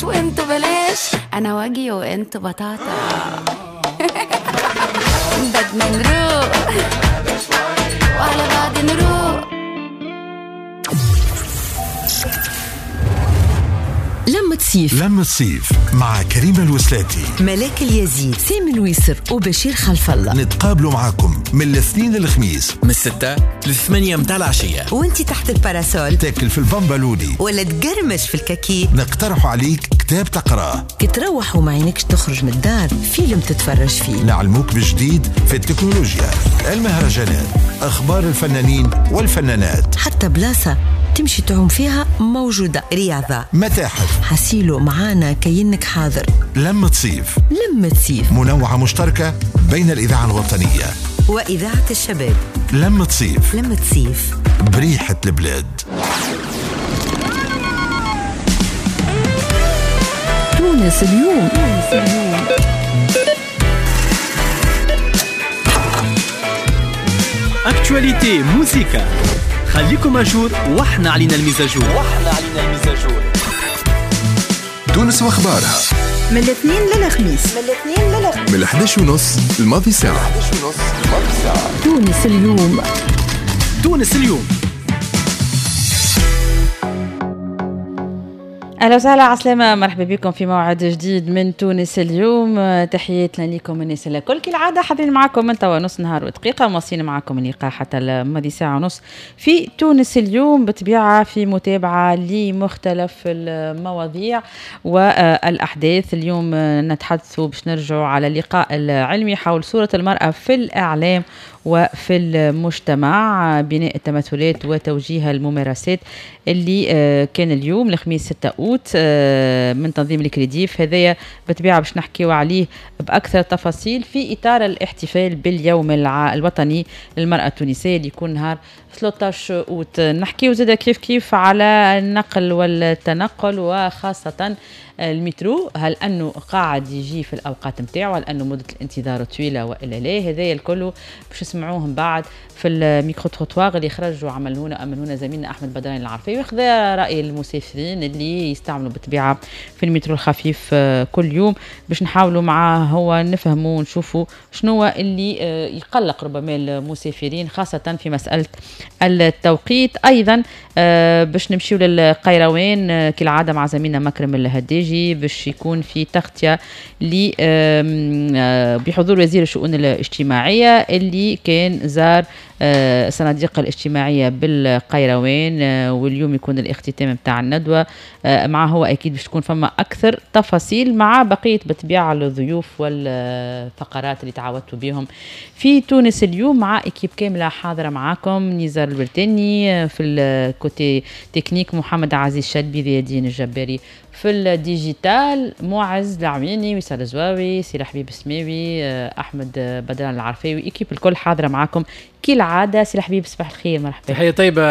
بلاش وانتو بلاش، انا واجي وانتو بطاطا. بدنا نروق وعلى بعض نروق. لمة صيف، لمة صيف مع كريمة الوسلاتي، ملاك اليزيد، سامي الويسر وبشير خلف الله. نتقابلوا معاكم من الاثنين للخميس من 6 ل8 متاع العشية، وانت تحت ال parasol تاكل في البامبالوني ولا تقرمش في الكاكي. نقترح عليك كتاب تقراه، تروح وما عينكش تخرج من الدار، فيلم تتفرج فيه، نعلموك بجديد في التكنولوجيا، المهرجانات، أخبار الفنانين والفنانات، حتى بلاصة تمشي تعوم فيها موجودة، رياضة، متاحف، حسيلو معانا كأنك حاضر. لمة صيف، لمة صيف منوعة مشتركة بين الإذاعة الوطنية وإذاعة الشباب. لمة صيف، لمة صيف بريحة البلاد. تونس اليوم، تونس اليوم. actualité موسيقى، خليكم à jour واحنا علينا ال mise à jour، واحنا علينا ال mise à jour. تونس واخبارها من الاثنين للخميس، من الاثنين للخميس، من 11:30 الماضي ساعة. تونس اليوم، تونس اليوم. اهلا وسهلا، عسلامة، مرحبا بكم في موعد جديد من تونس اليوم. تحياتنا لكم الناس الكل، كالعادة حاضرين معكم من توا نص نهار ودقيقة، مواصلين معكم اللقاء حتى الماضي ساعة ونص في تونس اليوم، بطبيعة في متابعة لمختلف المواضيع والأحداث. اليوم نتحدث باش نرجعوا على اللقاء العلمي حول صورة المرأة في الإعلام وفي المجتمع، بناء التمثلات وتوجيه الممارسات، اللي كان اليوم الخميس 6 أوت من تنظيم الكريديف. هذايا بطبيعة باش نحكيو عليه بأكثر تفاصيل في إطار الاحتفال باليوم الوطني للمرأة التونسية اللي يكون نهار 13 أوت. نحكيو زادا كيف كيف على النقل والتنقل وخاصة المترو، هل أنه قاعد يجي في الأوقات متاعه، هل أنه مدة الانتظار طويلة وإلا لا؟ هذايا الكل باش نسمعوهم بعد في ال micro-trottoir اللي خرجوا عملونا أمنونا زميلنا أحمد بدران العرفي، وخذا رأي المسافرين اللي يستعملوا بالطبيعة في المترو الخفيف كل يوم، باش نحاولوا معاه هو نفهموا ونشوفوا شنو اللي يقلق ربما المسافرين خاصة في مسألة التوقيت. أيضا باش نمشيو للقيروان كالعادة مع زميلنا مكرم الهداجي، باش يكون في تغطية بحضور وزير الشؤون الاجتماعية اللي كان زار الصناديق الاجتماعية بالقيروان، واليوم يكون الاختتام متاع الندوة معه هو، أكيد باش تكون فما أكثر تفاصيل مع بقية بطبيعة الضيوف والفقرات اللي تعودتوا بهم في تونس اليوم، مع équipe كاملة حاضرة معاكم: نزار البرتاني في ال côté technique، محمد عزيز شدبي، ذي الجباري في ال digital، معز العويني، وصال الزواوي، سي حبيب السماوي، احمد بدران العرفاوي، équipe الكل حاضره معاكم كالعادة. سي حبيب صباح الخير، مرحبا. تحية طيبة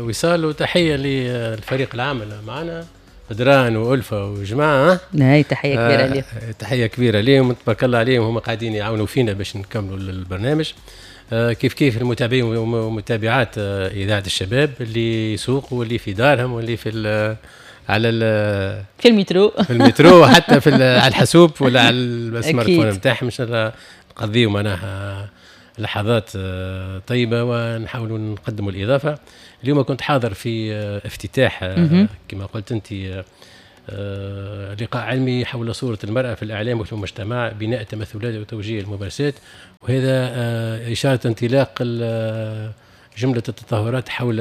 وصال، وتحية للفريق العامل معنا بدران وألفة وجماعه. هاي تحية كبيرة ليهم، تحية كبيرة ليهم، تبارك الله عليهم، هم قاعدين يعاونوا فينا باش نكملوا البرنامج. كيف كيف المتابعين ومتابعات اذاعة الشباب اللي يسوقوا واللي في دارهم واللي في على في المترو، في المترو، حتى في على الحاسوب ولا على ال smartphone نتاعهم. ان شاء الله نقضيو معناها لحظات طيبة ونحاولوا نقدموا الاضافة. اليوم كنت حاضر في افتتاح كما قلت انت لقاء علمي حول صوره المراة في الاعلام وفي المجتمع، بناء التمثلات وتوجيه الممارسات، وهذا اشارة انطلاق جملة التظاهرات حول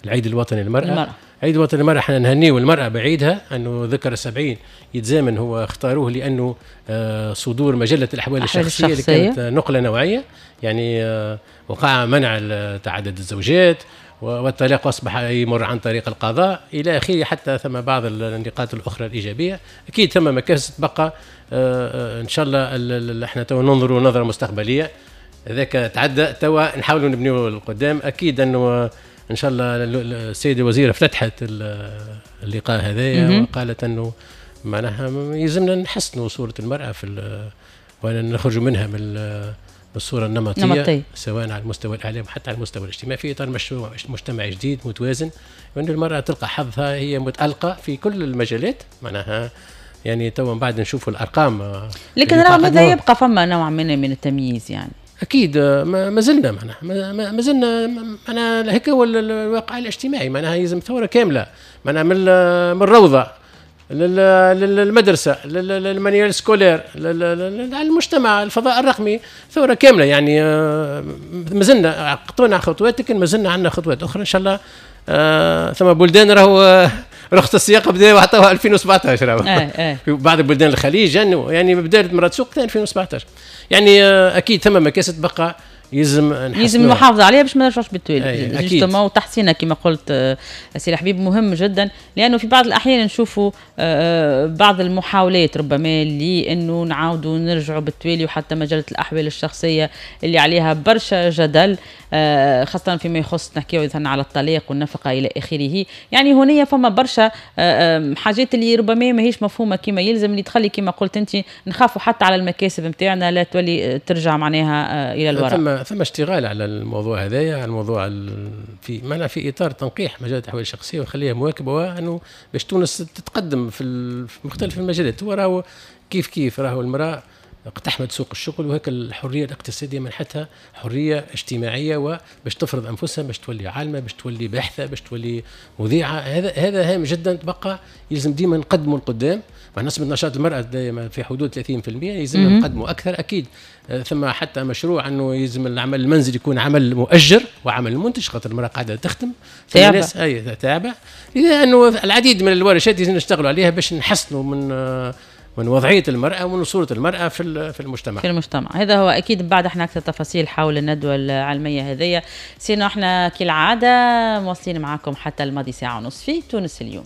العيد الوطني للمرأة. عيد الوطني للمرأة احنا نهنيه المرأة بعيدها، أنه ذكر 70 يتزامن، هو اختاروه لأنه صدور مجلة الأحوال الشخصية اللي كانت نقلة نوعية، يعني وقع منع تعدد الزوجات والطلاق أصبح يمر عن طريق القضاء إلى آخره، حتى ثم بعض النقاط الأخرى الإيجابية. أكيد ثم مكاسب تبقى، إن شاء الله احنا تو ننظروا نظرة مستقبلية، هذاك تعدى توا نحاولوا نبنيو القدام. أكيد أنه ان شاء الله السيدة الوزيرة افتتحت اللقاء هذايا وقالت انه معناها يلزمنا نحسنوا صوره المراة في ونخرجوا منها من بالصورة النمطية سواء على المستوى الاعلام حتى على المستوى الاجتماعي، في اطار مشروع مجتمع جديد متوازن، وان المراة تلقى حظها، هي متالقه في كل المجالات معناها. يعني تو من بعد نشوفوا الارقام، لكن رغم هذا يبقى فما نوع من التمييز يعني. اكيد ما زلنا معناها ما زلنا معناها هيك هو الواقع الاجتماعي، معناها يلزم ثورة كاملة معناها من الروضة للمدرسة لل manuel scolaire المجتمع الفضاء الرقمي، ثورة كاملة يعني. ما زلنا قطعنا خطوات، لكن ما زلنا عندنا خطوات اخرى ان شاء الله. ثم بلدان راهو رخصه السياقه بدا وعطوها 2017 راهو في بعض بلدان الخليج يعني بدات مرات سوق 2017 يعني. اكيد ثم مكاسب بقى يلزم المحافظة عليها باش ما نرجعوش بالتوالي justement، وتحسينها كما قلت سي الحبيب مهم جدا، لانه في بعض الاحيان نشوفوا بعض المحاولات ربما لانه نعاودوا نرجعوا بالتوالي، وحتى مجلة الاحوال الشخصية اللي عليها برشا جدل، خاصة فيما يخص نحكيو مثلا على الطلاق والنفقة الى اخره. يعني هنا فما برشا حاجات اللي ربما ماهيش مفهومه كما يلزم، اللي تخلي كما قلت انت نخافوا حتى على المكاسب نتاعنا لا تولي ترجع معناها الى الوراء. ثم اشتغال على الموضوع هذايا، على الموضوع في معناها في اطار تنقيح مجال الاحوال الشخصية ونخليها مواكبة، وانه باش تونس تتقدم في مختلف المجالات. هو راهو كيف راهو المراة اقتحمت سوق الشغل، وهيك الحرية الاقتصادية منحتها حرية اجتماعية، وباش تفرض انفسها، باش تولي عالمه، باش تولي باحثه، باش تولي مذيعه. هذا هام جدا، تبقى يلزم ديما نقدموا لقدام. مع نسبه نشاط المراة دائما في حدود 30%، يلزم نقدموا اكثر اكيد. ثم حتى مشروع انه يلزم العمل المنزلي يكون عمل مؤجر وعمل منتج، خاطر المراة قاعدة تخدم تعبه، اي تعبه. اذا انه العديد من الورشات لازم نشتغلوا عليها باش نحسنوا من وضعية المرأة ومن صورة المرأة في المجتمع. في المجتمع، هذا هو أكيد. بعد احنا أكثر تفاصيل حول الندوة العلمية هذية، sinon احنا كالعادة مواصلين معكم حتى الماضي ساعة ونص في تونس اليوم.